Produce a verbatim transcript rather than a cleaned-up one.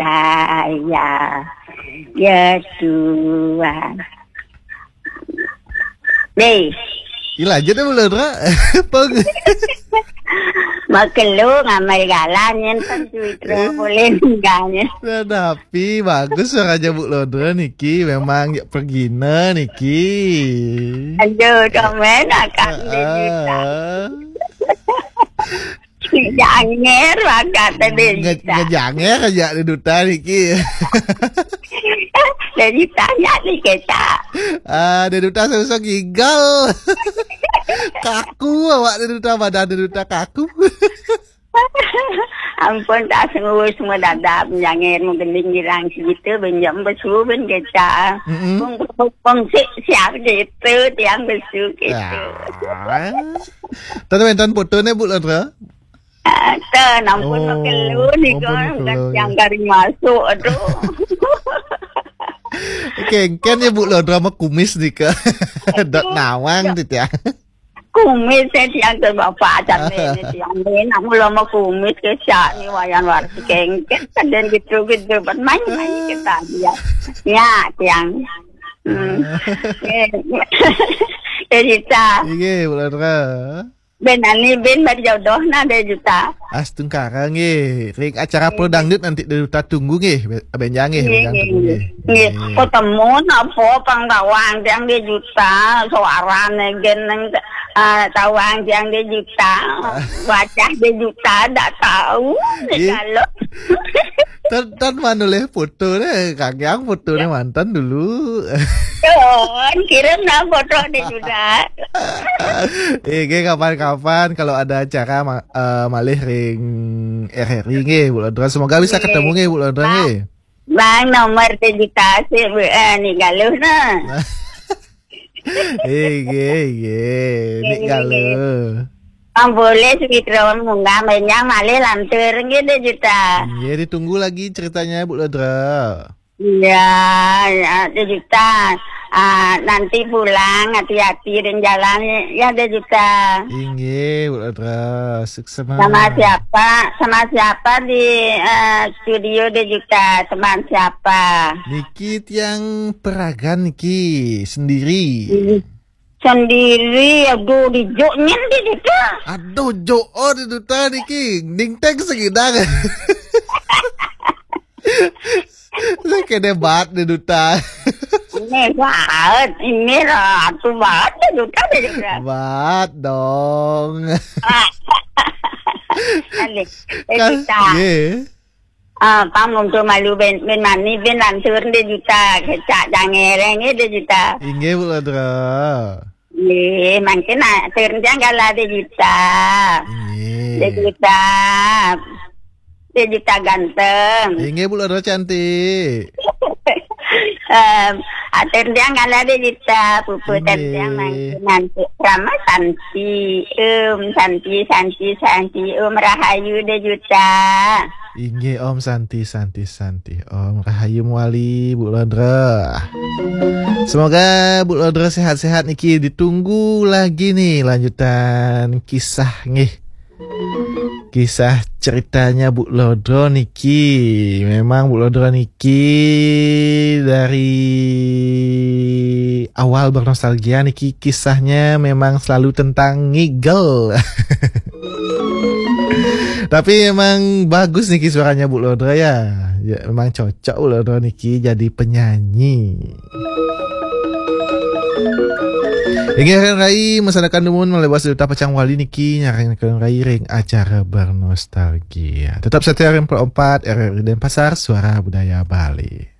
saya. Ya Tuhan. Deh. Ila aja deh, Bulon Ro. Peng. Makelu ngamai galan nyen pan cuit ro. Eh. Boleh ninggalnya. Nah, tapi bagus suaranya Bulon Ro niki. Memang ya pergina niki. Aduh, domen akak. Ah, ah. Janger bakat tadi. Nge-, ngejanger aja Dé Duta niki. Dari tanya nih kita. Ah, Dé Duta susah gigal. Kaku awak Dé Duta, badan Dé Duta kaku. Ampun, tak sungguh semua dadap, janger menggending girang segitu, benjam besu ben kita. Mm-mm. Pung, pung, pung, si, siap gitu, tiang besu gitu. Ah. Tadi main tahun foto nih, Bu Lodra? Ah, ten, ampun, oh, makelu ni ampun, kan, makelu, yang ya. Kari masuk, aduh. Kengken ya, Bu Lodra, sama kumis ni ke. Dot nawang tu, tiang. Kumis saya tiang tu bapak, cantik ni tiang ni. Nak mula sama kumis ke, siap ni, wayan warsi kengken. Kadang gitu-gitu, buat main-main kita dia. Ya, tiang. Hmm. Eh, cerita. Iya, Bu Lodra. Ben ani ben berjodoh na Dé Duta. Astungkara nggih. Ring acara Prodangdut nanti Dé Duta tunggu nggih. Be-, benjang nggih, nggih, benjang nggih, tunggu nggih. Nggih. Nggih. Ketemu napa pang tawang tiang Dé Duta, suarane gen nang, eh, tawang tiang Dé Duta. Wajah Dé Duta dak tahu. Nggih. Kalau Tan, tan manulih foto deh, Kang Yang foto deh mantan dulu. Tuh, kirim dah foto deh sudah. Eh, nggih, kapan-kapan kalau ada acara ma-, eh, malih ring R R I nggih, Bu Lodra. Semoga bisa ketemu nggih, Bu Lodra nggih. Bang, nomor dedikasi, Bu, eh, ni galuh nah. Nggih, nggih, nggih. Nik galuh. Bang, boleh sedikit munggah, banyak malih lantur nggih, Dé Duta. Nggih, ditunggu lagi ceritanya, Bu Lodra. Iya, ya, Dé Duta. Ah, nanti pulang hati-hati dan jalan ya, Dé Duta. Inggih, Bu Lodra. Sukses. Sama siapa? Sama siapa di, eh, studio Dé Duta? Teman siapa? Niki tiang peragan niki sendiri. Sendiri, aduh, di jok nyen di situ. Aduh, jok, oh, Dé Duta niki. Ning teng segidang. Saya kena bat Dé Duta. Ini bat, ini ratu bat Dé Duta, Dé Duta. Bat dong. Ini, Dé Duta. Nggih. Ah, pang untuk malu ben, ben mani, ben lantur Dé Duta. Kecak jangereng, Dé Duta. Inggih, Bu Lodra. Nggih, mangkin atur tiang kala Dé Duta. Nggih. Dé Duta. Dé Duta ganteng. Inggih, Bu Lodra cantik. Em, atur tiang kala Dé Duta, puput tiang mangkin nanti. Rama Santi, Om Santi, Santi, Santi, Om Rahayu Dé Duta. Inggih, Om Santi, Santi, Santi. Om Rahayu Muali, Bu Lodra. Semoga Bu Lodra sehat-sehat niki. Ditunggu lagi nih lanjutan kisah nggih. Kisah ceritanya Bu Lodra niki. Memang Bu Lodra niki dari awal bernostalgia niki kisahnya memang selalu tentang ngigel. Tapi emang bagus niki suaranya Bu Lodra ya. Ya, memang cocok Bu Lodra niki jadi penyanyi. Inggih, Rai, masanakan dumun malebas Dé Duta pacang wali niki nyarengkeun Rai ring acara bernostalgia. Tetap setia ring empat R R I Denpasar, Suara Budaya Bali.